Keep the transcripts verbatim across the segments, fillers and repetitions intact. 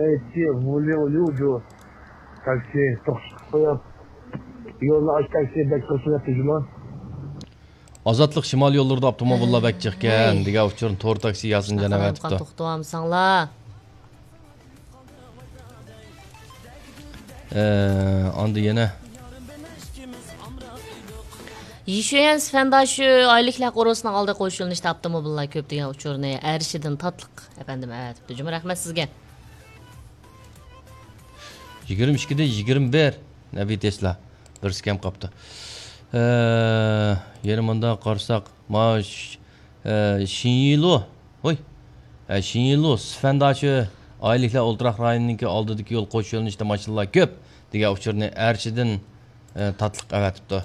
ئەيتتى، ۋۇلىڭ ليۇجۇ تاكسى توختىتىپ قويۇپ، يولنى ئاچ، تاكسى بەك توسۇۋەتتى جۇما. ئازادلىق شىمال يوللىرىدا ئاپتوموبىللار بەك جىقكەن دېگەن ئۇچۇرنى تور تاكسى ياسىنجان ئەۋەتىپتۇ. توختىۋالمىساڭلار. ئاندىن يەنە يىشۈەن سىفەنداشى ئايلىكلار قورۇسىنىڭ ئالدىغا قوشۇلۇنۇشتا ئاپتوموبىللار كۆپ دېگەن ئۇچۇرنى ئەرشىدىن تاتلىق ئەپەندىم ئەۋەتىپتۇ. جۇمۇ رەھمەت سىزگە. يىگىرمە ئىككىدىن يىگىرمە بىر نەبى تېسلا بىرسى كەم قاپتۇ. ئە، يەنە مۇنداق قارىساق، ماش، ئە، شىنيىلۇ، ھوي، ئە، شىنيىلۇ سىفەنداشى ئائىلىلىكلەر ئولتۇراق رايونىنىڭكى ئالدىدىكى يول قوش يۆنىلىشتە ماشىنىلار كۆپ دېگەن ئۇچۇرنى ئەرشىدىن، ئە، تاتلىق ئەۋەتىپتۇ.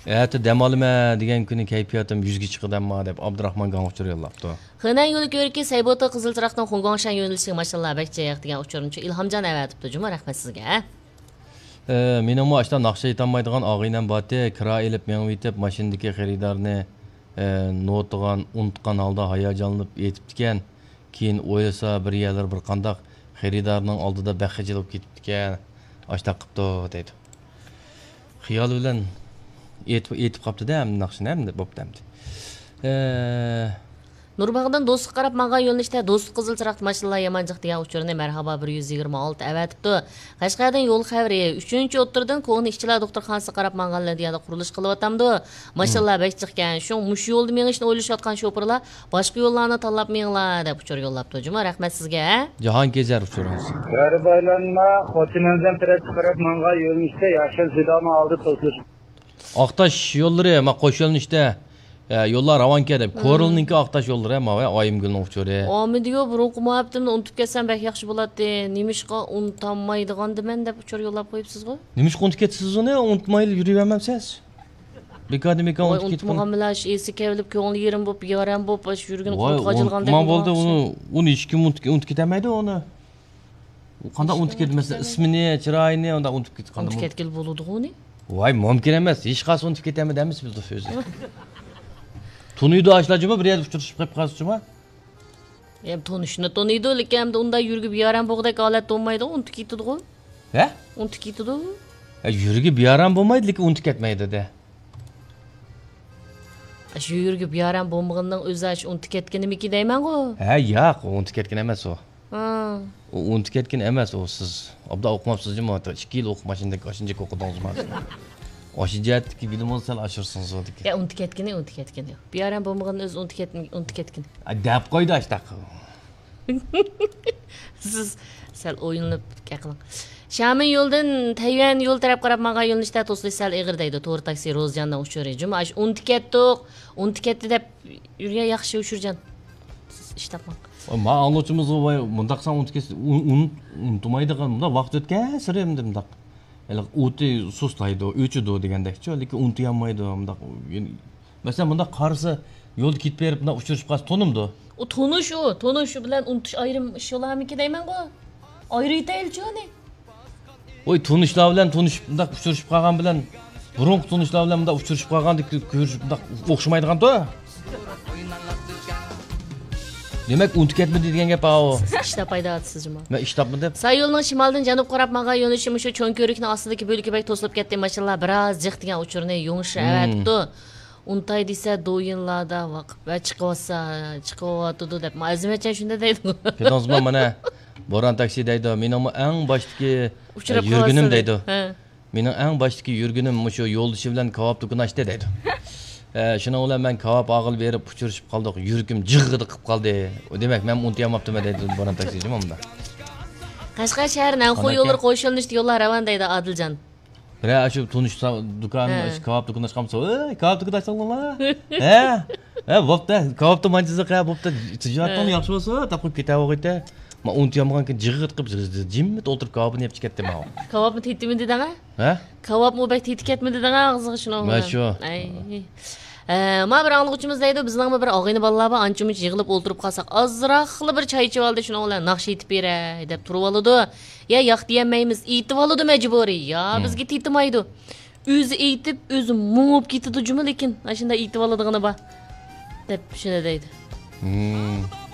ئەتە دەم ئالىمەن دېگەن كۈنى كەيپىياتىم يۈزگە چىقىدۇ ئەمما، دەپ ئابدۇراخمان گاڭ ئۇچۇر يوللاپتۇ. خېنەن يولى كۆركى سەيبوتا قىزىل چىراغدىن خۇڭگۇاڭشەن يۆنىلىشىگە ماشىنىلار بەك جىق دېگەن ئۇچۇرنىچۇ ئىلھامجان ئەۋەتىپتۇ. جۇمۇ رەھمەت سىزگە. ئە، مېنىڭمۇ ئاشتا ناخشا ئېيتالمايدىغان ئاغىنەم بارتى، كىرا ئېلىپ مېڭىۋېتىپ، ماشىنىدىكى خېرىدارنى، ئە، نوتىغان، ئۇنتقان ھالدا ھاياجانلىنىپ ئېيتىپتىكەن. كېيىن ئويلىسا، بىر يەرلىرى بىر قانداق خېرىدارنىڭ ئالدىدا بەك خىجىل بولۇپ كېتىپتىكەن. ئاشتاق قىپتۇ، دەيدۇ. خىيالى بىلەن ئېيتىپ، ئېيتىپ قاپتۇ-دە، ئەمدى ناخشىنى ئەمدى بوپتۇ ئەمدى. ئە، نۇرباغدىن دوستلۇققا قاراپ ماڭغان يۆنىلىشتە دوستلۇق قىزىل چىراغ ماشىنىلار يامان جىق دېگەن ئۇچۇرنى مەرھابا بىر يۈز يىگىرمە ئالتە ئەۋەتىپتۇ. قەشقەردىن يول خەۋىرى، ئۈچىنچى ئوتتۇرىدىن كونا ئىشچىلار دوختۇرخانىسىغا قاراپ ماڭغان لىنىيەدە قۇرۇلۇش قىلىۋاتامدۇ. ماشىنىلار بەك جىقكەن. شۇڭا مۇشۇ يولدا مېڭىشنى ئويلىشىۋاتقان شوپۇرلار باشقا يوللارنى تاللاپ مېڭىڭلار دەپ ئۇچۇر يوللاپتۇ. جۇمۇ رەھمەت سىزگە. جاھانكېزەر ئۇچۇرىڭىز. غەرىب ئايلانما، خوتەننىڭ تەرەپكە قاراپ ماڭغان يۆنىلىشتە ياشىل سېداننىڭ ئالدىدا توسۇلۇش. ئاقتاش يوللىرى، ما، قوش يۆنىلىشتە، ئە، يوللار راۋانكەن دەپ. كورلنىڭكى ئاقتاش يوللىرى، ما، ۋە ئايىمگۈلنىڭ ئۇچۇرى. ئامىدىيو، بۇرۇنقى مۇھەببىتىمنى ئۇنتۇپ كەتسەم بەك ياخشى بولاتتى. نېمىشقا ئۇنتالمايدىغاندىمەن دەپ ئۇچۇر يوللاپ قويۇپسىزغۇ؟ نېمىشقا ئۇنتۇپ كەتتىسىز ئۇنى؟ ئۇنتۇمايلا يۈرۈۋەرمەمسىز؟ بىكاردىن بىكار ۋاي، ئۇنتۇپ كېتىپ ئۇنتۇمىغان بىلەن ئىسى كەۋلىپ، كۆڭلى يېرىم بولۇپ، بىئارام بولۇپ، ئاشۇ يۈرگىنى ۋاي، قۇرت قاجىلغاندەك ئۇنتۇما بولدى، بولغان ئۇنى، ئۇنى ھېچكىم ئۇنتۇپ، ئۇنتۇپ كېتەلمەيدۇ ئۇنى. ئۇ قانداق ئۇنتۇپ كېتىدۇ؟ مەسىلەن، ئىسمىنى، چىرايىنى ئۇنداق ئۇنتۇپ كېتىپ قالدى. ئۇنتۇپ كەتكىلى بولىدىغۇ ئۇنى؟ ۋاي، مۇمكىن ئەمەس. ھېچقايسى ئۇنتۇپ كېتەلمەيدۇ ئەمەس بىز ئۆزى. تونۇيدۇ ئاشۇلار جۇمۇ، بىر يەردە ئۇچرىشىپ قېلىپ قالسا جۇمۇ. يا، تونۇشنى تونۇيدۇ، لېكىن ئەمدى ئۇنداق يۈرىكى بىئارام بولغۇدەك ھالەتتە بولمايدۇ، ئۇنتۇپ كېتىدىغۇ. ھە؟ ئۇنتۇپ كېتىدۇ. ھە، يۈرىكى بىئارام بولمايدۇ، لېكىن ئۇنتۇپ كەتمەيدۇ دە. ئاشۇ يۈرىكى بىئارام بولمىغىنىنىڭ ئۆزى ئاشۇ ئۇنتۇپ كەتكىنىمىكىن دەيمەنغۇ. ھە، ياق، ئۇ ئۇنتۇپ كەتكىنى ئەمەس ئۇ. ھا. ئۇ ئۇنتۇپ كەتكىنى ئەمەس ئۇ، سىز ئوبدان ئوقۇماپسىز جۇمۇ، ئىككى يىل ئوقۇپ ماشىنىدەك ئاشۇنچە ئوقۇدىڭىزمۇ؟ ئاشۇ جەھەتتىكى بىلىم بولسا سەل ئاشۇرسىڭىز دېگەن. يا، ئۇنتۇپ كەتكىنى، ئۇنتۇپ كەتكىنى. بىئارام بولمىغىنىنى ئۆزى ئۇنتۇپ كەتمە-، ئۇنتۇپ كەتكىنى. ئا، دەپ قويدى ئاشتاق. سىز سەل ئويلىنىپ گەپ قىلىڭ. شامىن يولىدىن تەييۈەن يولى تەرەپ قاراپ ماڭغان يۆنىلىشتە توسۇلۇش سەل ئېغىر دەيدۇ. تور تاكسى روزجاننىڭ ئۇچۇرى. جۇمۇ ئاشۇ ئۇنتۇپ كەتتۇق، ئۇنتۇپ كەتتى دەپ يۈرگەن ياخشى ئۇچۇرجان. سىز ئىش تاپماڭ. ۋاي، ما ئاڭلىغۇچىمىزغۇ ۋاي، مۇنداق سەن ئۇنتۇپ كەتسە، ئۇن-، ئۇن-، ئۇنتۇمايدىغان، مۇنداق ۋاقىت ئۆتكەنسېرى ئەمدى مۇنداق. ھېلىقى ئوتى سۇسلايدۇ، ئۆچىدۇ دېگەندەكچۇ، لېكىن ئۇنتۇيالمايدۇ، مۇنداق. مەسىلەن، مۇنداق قارىسا، يولدا كېتىپ بېرىپ، مۇنداق ئۇچرىشىپ قالسا تونۇمدۇ؟ ئۇ تونۇش ئۇ، تونۇش بىلەن ئۇنتۇش ئايرىم ئىش بولارمىكىن دەيمەنغۇ. ئايرىۋېتەيلىچۇ ئۇنى. ۋاي، تونۇشلار بىلەن تونۇشۇپ، مۇنداق ئۇچرىشىپ قالغان بىلەن، بۇرۇنقى تونۇشلار بىلەن مۇنداق ئۇچرىشىپ قالغاندا كۆ-، كۆرۈشۈپ مۇنداق ئوخشىمايدىغانتۇ. دېمەك، ئۇنتۇپ كەتمىدى دېگەن گەپ ئاۋۇ. سىز ئىش تاپايدىغانسىز جۇمۇ. مەن ئىش تاپمىدىم. ساي يولىنىڭ شىمالدىن جەنۇبقا قاراپ ماڭغان يۆنىلىشى مۇشۇ چوڭ كۆۋرۈكنىڭ ئاستىدىكى بۆلىكى بەك توسۇلۇپ كەتتى، ماشىنىلار بىراز جىق دېگەن ئۇچۇرنى يۇڭشى ئەۋەتىپتۇ. ئۇنتاي دېسە، دويىنلاردا ۋاقىپ ۋە چىقىۋاتسا، چىقىۋاتىدۇ دەپ، ئەزىمەتجان شۇنداق دەيدۇ. كۆردىڭىزمۇ، مانا، بوران تاكسى دەيدۇ، مېنىڭمۇ ئەڭ باشتىكى، ئۇچراپ ئە، يۈرگىنىم قالسا دەيدۇ. ھە. مېنىڭ ئەڭ باشتىكى يۈرگىنىم مۇشۇ يولدىشى بىلەن كاۋاپ دۇكىنى ئاچتى دەيدۇ. ئە، شۇنىڭ بىلەن مەن كاۋاپ ئاغىلى بېرىپ ئۇچرىشىپ قالدۇق، يۈرىكىم جىغغىدە قىلىپ قالدى. دېمەك، مەن ئۇنتۇيالماپتىمەن دەيدۇ بوران تاكسى جۇمۇ مۇنداق. قەشقەر شەھەر نەنخۇ يوللىرى قوشۇلۇنۇشتا يوللار راۋان دەيدۇ ئادىلجان. بىرەر ئاشۇ تونۇش سا-، دۇكان، ھە. ئاشۇ كاۋاپ دۇكىنى ئاچقانمىسا، «ئەي، كاۋاپ دۇكىنى ئاچتىڭلار؟» ھە؟ ھە، بوپتۇ، كاۋاپتا مانچىزىق، ھە، بوپتۇ، تىجارىتىڭ ھە. ياخشى بولسا، تاپقىلى كېتەۋېرىدۇ. مەن ئۇنتۇيالمىغانكىن جىغىت قىلىپ، جىممىت ئولتۇرۇپ كاۋاپنى يەپ چىقەتتىم ماۋۇ. كاۋاپمۇ تېتىمىدى دەڭە؟ ھە؟ كاۋاپمۇ بەك تېتى كەتمىدى دەڭە ئاغزىغا شۇنىڭ مەن بىلەن. شۇ. ئەي. ئە، ما بىر ئاڭلىغۇچىمىز دەيدۇ، بىزنىڭمۇ بىر ئاغىنە بالىلار بار، ئانچە-مۇنچە يىغىلىپ ئولتۇرۇپ قالساق، ئازراقلا بىر چاي ئىچىۋالدى، شۇنىڭ بىلەن ناخشا ئېيتىپ بېرەي دەپ تۇرۇۋالىدۇ. يا ياق دېيەلمەيمىز، ئېيتىۋالىدۇ مەجبۇرىي. يا ھىم. بىزگە تېتىمايدۇ. ئۆزى ئېيتىپ، ئۆزى مۇڭۇپ كېتىدۇ جۇمۇ، لېكىن ئاشۇنداق ئېيتىۋالىدىغىنى بار دەپ شۇنى دەيدۇ. ھىم.